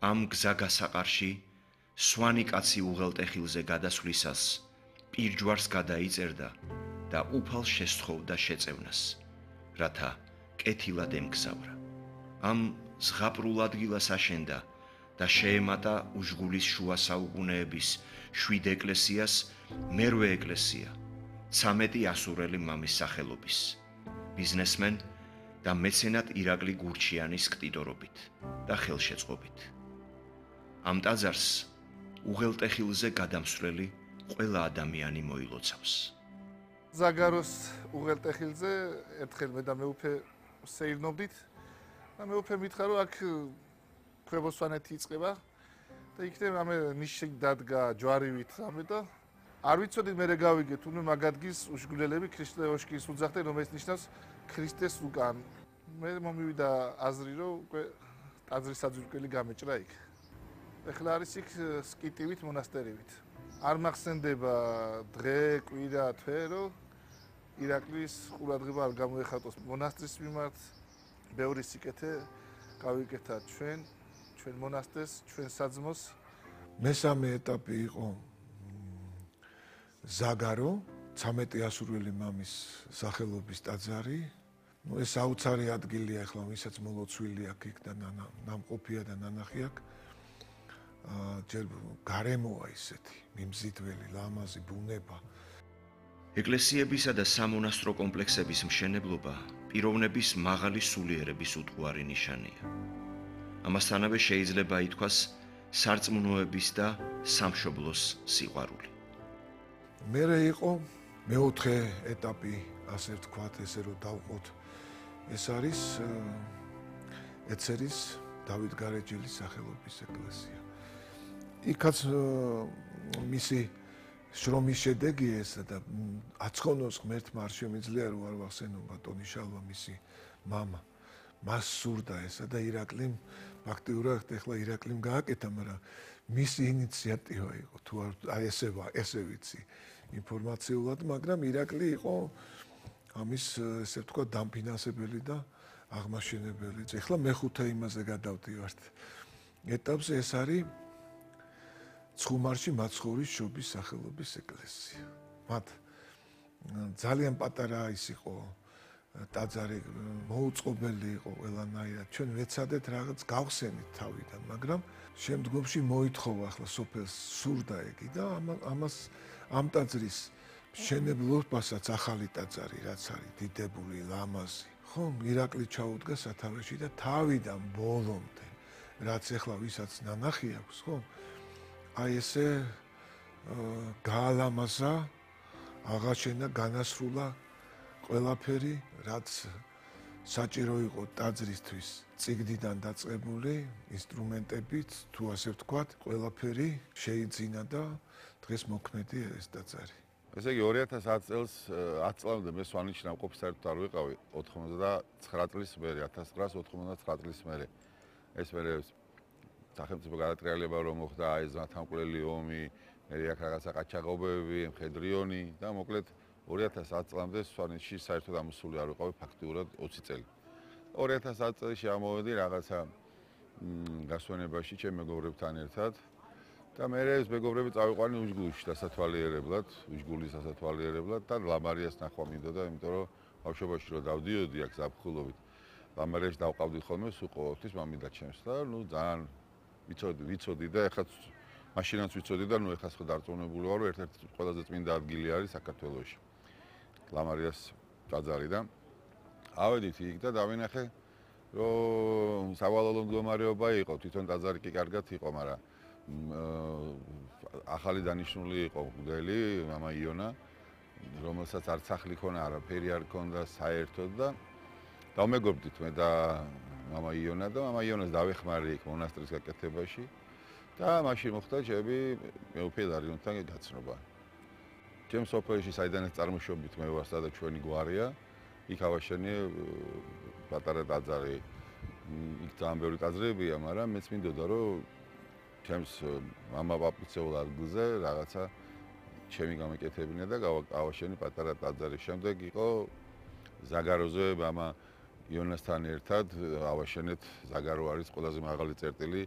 ამ გზაგასაყარში სვანი კაცი უღელტეხილზე გადასვლისას პირჯვარს გადაიწერდა და უფალ შესთხოვდა შეწევნას, რათა კეთილად ემგზავრა. ამ ზღაპრულ ადგილას აშენდა და შეემატა უჟღულის შუა საუკუნეების 7 ეკლესიას მერვე ეკლესია, 13 ასურელი მამის სახელობის, ბიზნესმენ და მეცენატ ირაკლი გურჩიანის ქტიტორობით და ხელშეწყობით. ამ ტაძარს უღელტეხილზე გადამსვლელი ყველა ადამიანი მოილოცავს. ზაგაროს უღელტეხილზე ერთხელ მე და მეუფე სეირნობდით და მეუფე მითხრა რომ აქ ქვებოსვანეთი იწყება და იქნებ ამე ნიში დადგა ჯვარივით ამე და არ ვიცოდი მე გავიგე თუნდაც მაგ ადგილს უშგულელები ქრისტე ოშკის უძახდნენ რომელიც ნიშნავს ქრისტეს უკან. მე მომივიდა აზრი რომ უკვე ტაძრის საძირკველი გამეჭრა იქ. ეხლა არის იქ სკიტივით მონასტერივით. არ მახსენდება დღე, კვირა, თვე, რომ ირაკლის ყურადღება არ გამოეხატოს მონასტრის მიმართ. ბევრი სიკეთე გავიკეთა ჩვენ მონასტერს, ჩვენ საძმოს. მესამე ეტაპი იყო ზაგარო, 13 ასურველი მამის სახელობის ტაძარი. ეს აუცარი ადგილია ახლა, ვისაც მოლოცვილი აქვს იქ და ნამყოფია და ნანახი აქვს. ჯერ გარემოა ისეთი, მიმზიდველი, ლამაზი ბუნება. ეკლესიებისა და სამონასტრო კომპლექსების მშენებლობა პიროვნების მაღალი სულიერების უტყუარი ნიშანია. ამასთანავე შეიძლება ითქვას სარწმუნოების და სამშობლოს სიყვარული. მერე იყო მეოთხე ეტაპი, ასე ვთქვათ, ესე რომ დავყოთ. ეს არის ეცერის დავით გარეჯელის სახელობის ეკლესია. იქაც მისი შრომის შედეგია ესა და აცხონოს ღმერთმა არ შემიძლია რომ არ ვახსენო ბატონი შალვა მისი მამა. მას სურდა ესა და ირაკლიმ ფაქტიურად ეხლა ირაკლიმ გააკეთა, მაგრამ მისი ინიციატივა იყო თუ არ ესე ვიცი ინფორმაციულად, მაგრამ ირაკლი იყო ამის ესე ვთქვათ დამფინანსებელი და აღმაშენებელი. ეხლა მეხუთე იმაზე გადავდივართ. ეტაპზე ეს არის ცხუმარში მაცხოვრის შობის სახელობის ეკლესია. მათ ძალიან პატარა ის იყო ტაძარი, მოუწყობელი იყო ყველანაირად. ჩვენ ვეცადეთ რაღაც გავხსენით თავიდან, მაგრამ შემდგომში მოითხოვა ახლა სოფელს სურდა იგი და ამ ტაძრის მშენებლობასაც ახალი ტაძარი რაც არის დიდებული, ლამაზი. ხომ ირაკლი ჩაუდგა სათავეში და თავიდან ბოლომდე რაც ახლა ვისაც ნანახი აქვს, ხომ? აი ესე გაალამაზა, აღაშენა, განასრულა ყველაფერი, რაც საჭირო იყო ტაძრისთვის, წიგნიდან დაწყებული ინსტრუმენტებით, თუ ასე ვთქვათ, ყველაფერი შეიძინა და დღეს მოქმედი ეს ტაძარი. ესე იგი 2010 წელს 10 წლამდე მე სვანეთში ნამყოფი საერთოდ არ ვიყავი 99 წლის მერე 1999 წლის მერე ეს მერე სახელმწიფო გადატრიალება რომ მოხდა აი ეს თანამკვლელი ომი, მე აქ რაღაცა ყაჩაღობები, მხედრიონი და მოკლედ 2010 წლამდე სვანეთში საერთოდ ამოსული არ ვიყავი ფაქტიურად 20 წელი. 2010 წელს ამოვედი რაღაცა გასვენებაში ჩემ მეგობრებთან ერთად და მე ეს მეგობრები წავიყვანი უჟგულში დასათვალიერებლად, უჟგულის დასათვალიერებლად და ლამარიას ნახვა მინდოდა, იმიტომ რომ ბავშვობაში რო დავდიოდი აქ ზაფხულობით, ლამარიაში დავყავდი ხოლმე სულ ყოველთვის მამიდა ჩემს და ნუ ძალიან ვიცოდი და ეხლა მაშინაც ვიცოდი და ნუ ეხლა ხო დარწმუნებული ვარ, რომ ერთ-ერთი ყველაზე წმინდა ადგილი არის საქართველოში. ლამარიას ტაძარი და ავედით იქ და დავინახე, რომ სავალალო მდგომარეობა იყო, თვითონ ტაძარი კი კარგად იყო, მაგრამ ახალი დანიშნული იყო მღვდელი, მამა იონა, რომელსაც არც სახლი ქონა, არაფერი არ ქონდა საერთოდ და დავმეგობრდით მე და მამა იონა და მამა იონას დავეხმარე იქ მონასტრის გაკეთებაში და მაშინ მოხდა ჩემი მეუფე დარიონთან გაცნობა. ჩემ სოფელში საიდანაც წარმოშობით მე ვარ, სადაც ჩვენი გვარია, იქ ავაშენე პატარა ტაძარი. იქ ძალიან ბევრი ტაძრებია, მაგრამ მეც მინდოდა რომ ჩემს მამა-პაპიცეულ ადგილზე რაღაცა ჩემი გამეკეთებინა და გავავაშენი პატარა ტაძარი. შემდეგ იყო ზაგაროზე მამა იონასთან ერთად ავაშენეთ, ზაგარო არის ყველაზე მაღალი წერტილი